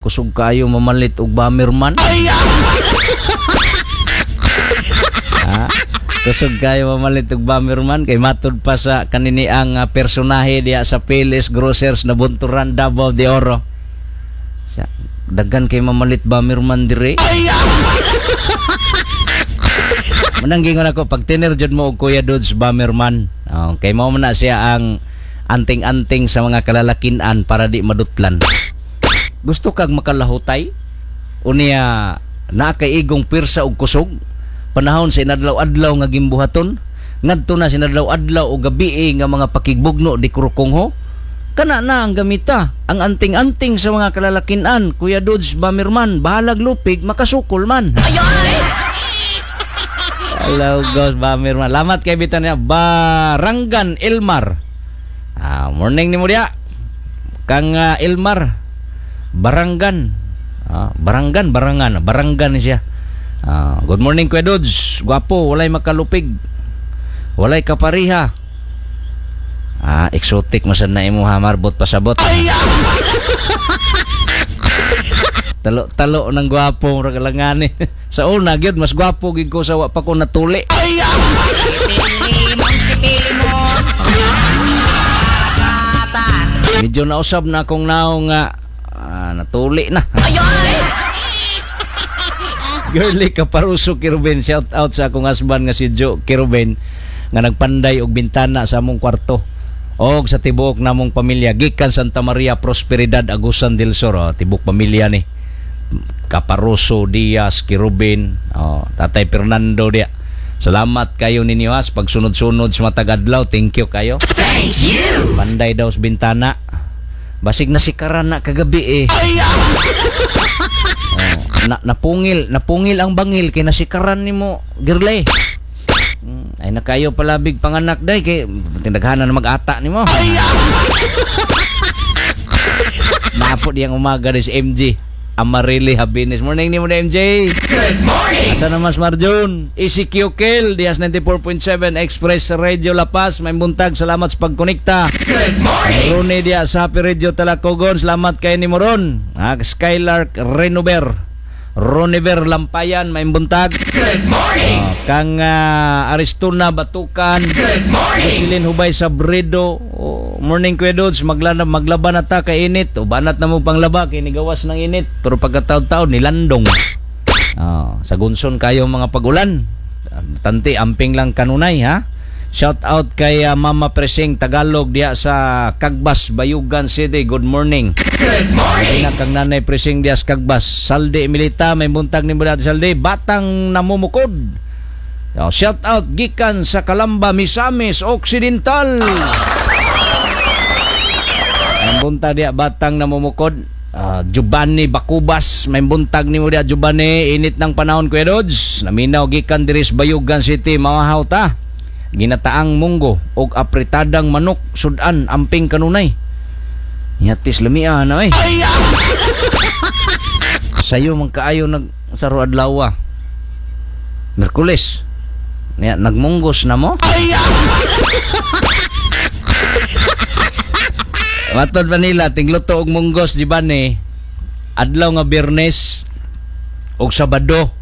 Kusog kaayo mamalit og Bomberman. Ah, kusog kayo mamalit og Bomberman kay matud pa sa kaniniang personahe diya sa Payless Grocers na Bunturan, Davao de Oro. Sa daghan kay mamalit Bomberman dire. Manang gingon ako pag tiner jud mo og Kuya Dudes Bomberman. Oh, kay mao man na siya ang anting-anting sa mga kalalakinan para di madutlan. Gusto kag makalahutay? Unya naa kay igong pirsa og kusog? Panahon sa inadlaw-adlaw nga gimbuhaton? Ngadto na sa inadlaw-adlaw o gabii nga mga pakigbugno di kurukongho? Kana na ang gamita, ang anting-anting sa mga kalalakinan, Kuya Dudes Bomberman, bahalag lupig, makasukol man. Hello, Ghost Bomberman. Lamat kay bitan niya, Baranggan Elmar. Ah, morning ni mo diya. Kang Elmar. Baranggan. Ah, Baranggan, Barangan. Baranggan ni siya. Ah, good morning, Kuya Dudes. Gwapo, walay makalupig. Walay kapariha. Ah, exotic mo sad na imo ha, marbot pasabot. Talo-talo ng gwapo murag langani. Sa una gyud mas gwapo gyud ko sa wa pa ko natuli. Medyo nausab na akong naong nga natuli na. Girly Kaparuso Kiruben, shout out sa akong husband nga si Joe Kiruben nga nagpanday og bintana sa among kwarto og sa tibuok namong pamilya gikan Santa Maria Prosperidad, Agusan del Sur. Oh, tibuok pamilya ni Kaparuso Diaz Kiruben, oh, Tatay Fernando dia. Salamat kayo ninyo ha sa pagsunod-sunod sa matag adlaw. Thank you kayo. Thank you. Panday daw sa bintana. Basig nasikaran na kagabi eh. Oh, napungil, napungil ang bangil kay nasikaran nimo, girlay. Ay nakayo palabig panganak day kay tinaghanan na mag-ata nimo. Napo diyang umaga ni si MJ. Amarili Habinis. Morning nimo na MJ. Good morning. Asa naman si Marjun? ECQ Kel, Diaz 94.7 Express Radio La Paz. May buntag, salamat sa pagkonekta. Good morning. Rune diya sa Happy Radio Talacogon. Salamat kay ni Moron. Ah, Skylark Renover. Roniver Lampayan, may buntag. Good morning. Oh, kang Aristuna Batukan. Good morning. Jocelyn Hubay Sabredo. Oh, morning Kuya Dudes, maglaba na ta kay init. O banat na mo panglaba kay nigawas ng init. Pero pagkataon-taon nilandong. Oh, sa gunson kayo mga pagulan. Tanti amping lang kanunay ha. Shout out kay Mama Presing Tagalog diya sa Kagbas, Bayugan City. Good morning. Good morning. Ina kang Nanay Presing diya sa Kagbas. Saldi Emilita, may buntag ni Brad Saldi. Batang namumukod. Oh, shout out gikan sa Kalamba, Misamis Occidental. May buntag diya batang namumukod. Giovanni Bakubas, may buntag nimo diya Giovanni, init ng panahon Kuya Dods. Naminaw gikan diri sa Bayugan City, mawahaw ta. Ginataang munggo og apretadang manok sudan amping kanunay. Yatis lamia na eh. Sayo man kaayo nag saro adlaw. Merkules. Niya nagmunggos na mo. Matod pa nila tingluto og munggos di ba ni adlaw nga Biyernes og Sabado.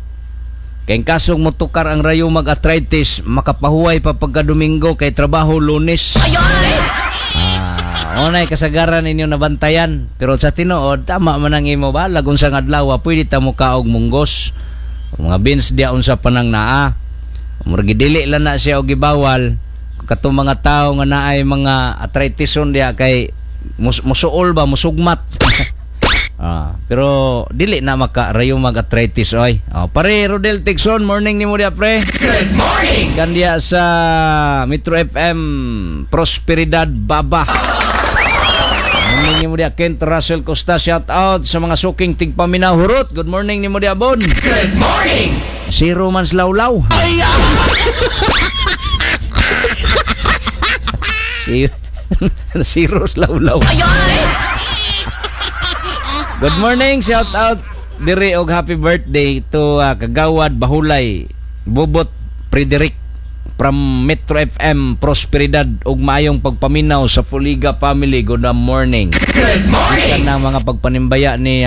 Kay kasong motukar ang rayo mag-arthritis, makapahuway pa pagka Domingo kay trabaho Lunes. Ah, unay kasagaran ninyo nabantayan. Pero sa tinuod, tama man ang imo ba? Lagun sa adlaw, pwede ta mo kaog munggos. Mga beans diya unsa pa nang naa. Murag dili lang na siya og gibawal. Katong mga tao nga naay mga arthritison diya kay musuol ba, musugmat. Ah, pero dili na maka rayo mag-arthritis oy. Oh, pare Rodel Tixon, morning nimo diya pre. Good morning. Gandia sa Metro FM Prosperidad Baba. Morning nimo diya Kent Russell Costa, shout out sa mga suking tigpaminaw hurot. Good morning nimo diya Bon. Good morning. Zero man slawlaw. Zero slawlaw. Good morning, shout out diri og happy birthday to Kagawad Bahulay Bubot Frederick from Metro FM Prosperidad og maayong pagpaminaw sa Fuliga family. Good morning. Good morning. Gikan na mga pagpanimbaya ni